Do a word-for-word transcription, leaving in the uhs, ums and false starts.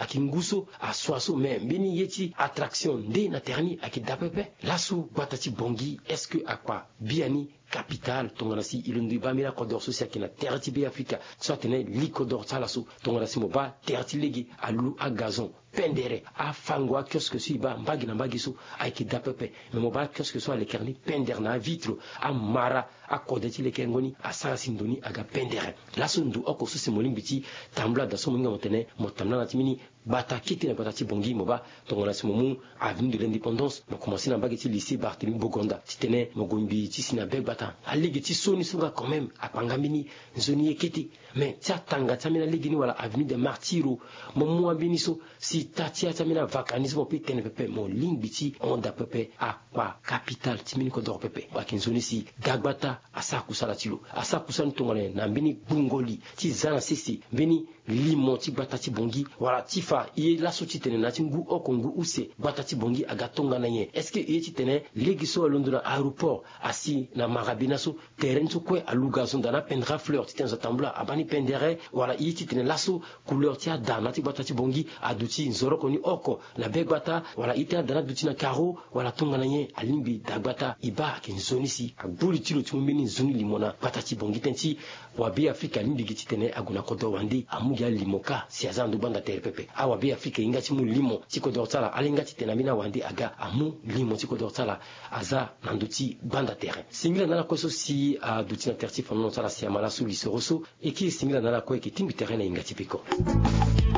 Kingu so asua so, me mbeni ye ti attraction nde na tere ni ayeke daa pepe. Laso gbata ti Bangui, est-ce que akpa biani capitale tongana si e londo e baa mbeni akodoro so si ayeke na tere ti Be Afrika so atene li kodoro ti ala so, tongana si mo baa tere ti lege alu agazon pendere, afango akiosque so e baa mbage na mbage so ayeke daa pepe. Me mo baa akiosque so alekere ni pendere na avitre, amara akode ti lekerengo ni asara si ndo ni aga pendere. Laso ndo oko so si mo lingbi ti tambula daa so mo hinga mo tene mo tambula na ti mbeni gbata kete na gbata ti Bangui, mo baa tongana si mo mu avenue de l'Indépendance, mo komanse na mbage ti lycée Barthélemy Boganda titene mo gue ngbii ti si na be gbata. Alege ti so ni so nga quand même akpanga mbeni nzoni ye kete. Me ti atanga ti ambeni alege ni wala avenue des Martyrs, mo mu ambeni so si taa ti ya ti ambeni avaka ni so mo pe tene pepe, mo lingbi ti hon daa pepe akpa capitale ti mbeni kodoro pepe. Ayeke nzoni si dagbata asara kusala ti lo, asara kusala ni tongana nyen? Na mbeni gbungo li ti za na sese mbeni limo ti gbata ti Bangui, wala ti fa e ye laso titene na ya ti ngu oko ngu use gbata ti Bangui aga tongana nyen? Est-ce que e ye titene lege so alondo na aéroport asi na marabina so, tere ni so kue alu gazon daa na pendere afleur titene zo atambula abaa ni pendere, wala e ye titene laso couleur ti ada na ya ti gbata ti Bangui aduti nzoroko ni oko na be gbata, wala e ye ti ada ni aduti na carreau, wala tongana nyen? Alingbi dagbata e baa ayeke nzoni si agbu li ti lo ti mu mbeni nzoni limo na gbata ti Bangui tënë ti Wa Be Afrika alingbi gi titene ague na kodro wande amu gi alimo kâ si aza na ndo gbanda tere pepe. Awa Be Afrika e hinga ti mu limo ti kodro ti ala, ala hinga titene ambeni awande aga amu limo ti kodro ti ala aza na ndö ti gbanda tere. Singila na ala kue so si aduti na tere ti fandango ti ala si ama laso lisoro so. E kiri singila na ala kue, e yeke tingbi tere na e hinga ti peko.